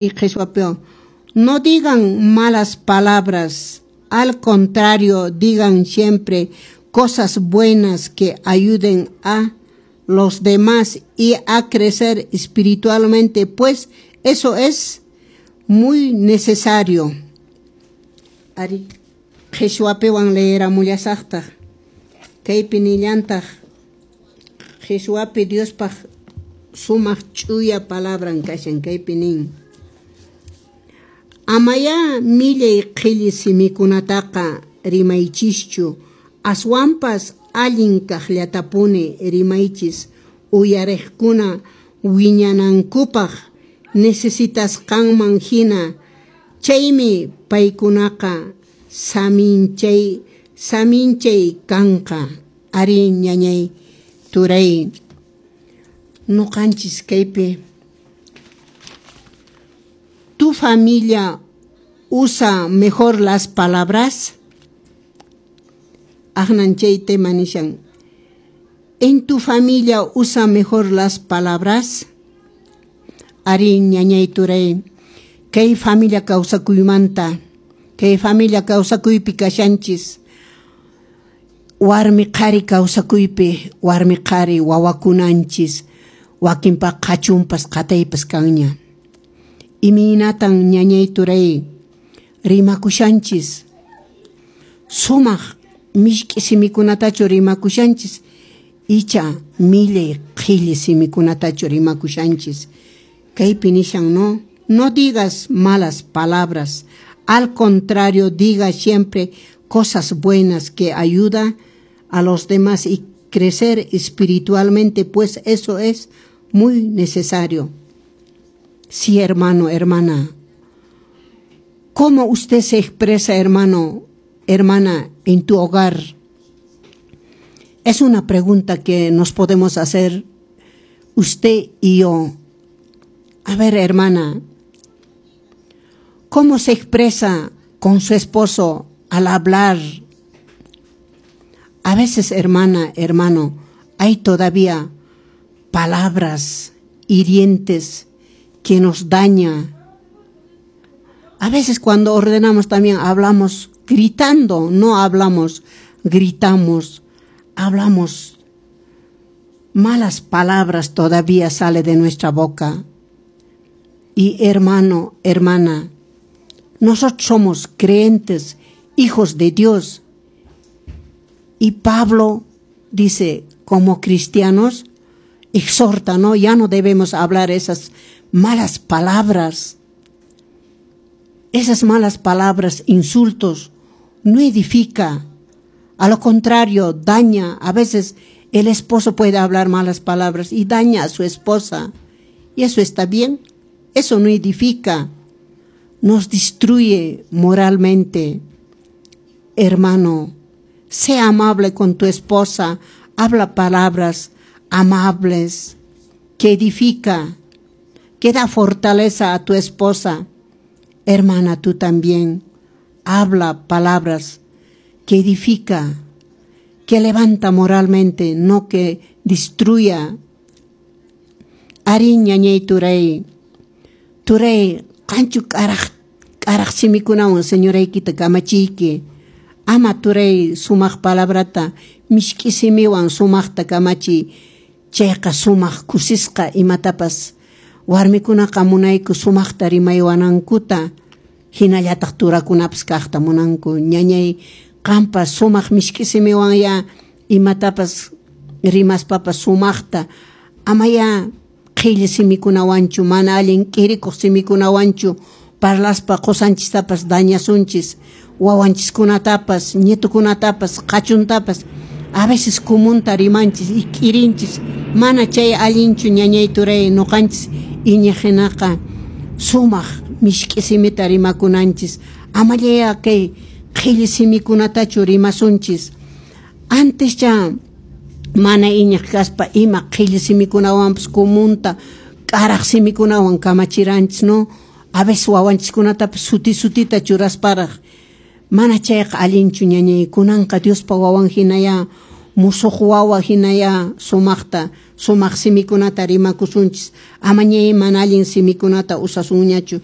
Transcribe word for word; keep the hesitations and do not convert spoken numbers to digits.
Qhishwapiwan no digan malas palabras, al contrario, digan siempre cosas buenas que ayuden a los demás y a crecer espiritualmente, pues eso es muy necesario. Arí, qhishwapiwan leeramullasaqtaq kaypi nillantaq qhishwapi Diospaq sumaq ch'uya palabran kashan kaypi nin amayá millay qhilli simikunataqa rimaychischu aswanpas allin kaqllatapuni rimaychis uyariqkuna wiñanankupaq necesitasqanman hina chaymi paykunaqa saminchay saminchay kanqa arí ñañay turay nuqanchis kaypi. ¿Tu familia usa mejor las palabras? Aqnan chay tema nishan. ¿En tu familia usa mejor las palabras? Arí ñañay turay kay familia kawsakuymanta kay familia kawsakuypi kashanchis warmi qhari kawsakuypi warmi qhari wawakunanchis wakinpaq qhachunpas qataypas kanña imaynatan ñañay turay rimakushanchis sumaq mishk'i simikunatachu rimakushanchis icha millay qhilli simikunatachu rimakushanchis kaypi nishan no no digas malas palabras, al contrario, diga siempre cosas buenas que ayuda a los demás y crecer espiritualmente, pues eso es muy necesario. Sí, hermano, hermana. ¿Cómo usted se expresa, hermano, hermana, en tu hogar? Es una pregunta que nos podemos hacer usted y yo. A ver, hermana, ¿cómo se expresa con su esposo al hablar? A veces, hermana, hermano, hay todavía palabras hirientes que nos daña. A veces cuando ordenamos también hablamos gritando, no hablamos, gritamos, hablamos. Malas palabras todavía sale de nuestra boca. Y hermano, hermana, nosotros somos creyentes, hijos de Dios. Y Pablo dice, como cristianos, exhorta, ¿no? Ya no debemos hablar esas malas palabras. Esas malas palabras, insultos, no edifica. A lo contrario, daña. A veces el esposo puede hablar malas palabras y daña a su esposa. Y eso está bien. Eso no edifica. Nos destruye moralmente. Hermano, sea amable con tu esposa. Habla palabras amables que edifica, que da fortaleza a tu esposa. Hermana, tú también habla palabras que edifica, que levanta moralmente, no que destruya. Arí ñañay turay, turay, qanchu k'araq k'araq simikunawan señoraykita kamachiyki. Ama turay sumaq palabrata mishk'i simiwan sumaqta kamachiy chayqa sumaq kusisqa imatapas warmikunaqa munayku sumaqta rimaywanankuta hinallataq turakunapas kaqta munanku ñañay qampas sumaq mishk'i simiwan ya imatapas rimaspapas sumaqta amaya qhilli simikunawanchu mana allin k'irikuq simikunawanchu parlaspa qusanchistapas dañasunchis wawanchiskunatapas ñitukunatapas qhachuntapas a veces comunta rimanchis y k'irinchis mana chay allinchu ñañay turay nuqanchis iñiqhinaqa sumaq mishk'i simita rimakunanchis amallaya kay qhilli simikunatachu rimasunchis antes cha mana iñiq kaspa ima qhilli simikunawanpas comunta k'araq simikunawan kamachiranchis no a veces wawanchiskunatapas suti sutita churasparaq mana chayqa allinchu ñañay kunanqa Diospa wawan hinaya Musuq wawa hinayá sumaqta sumaq simikunata rimakusunchis, amañayá mana allin simikunata usasunñachu.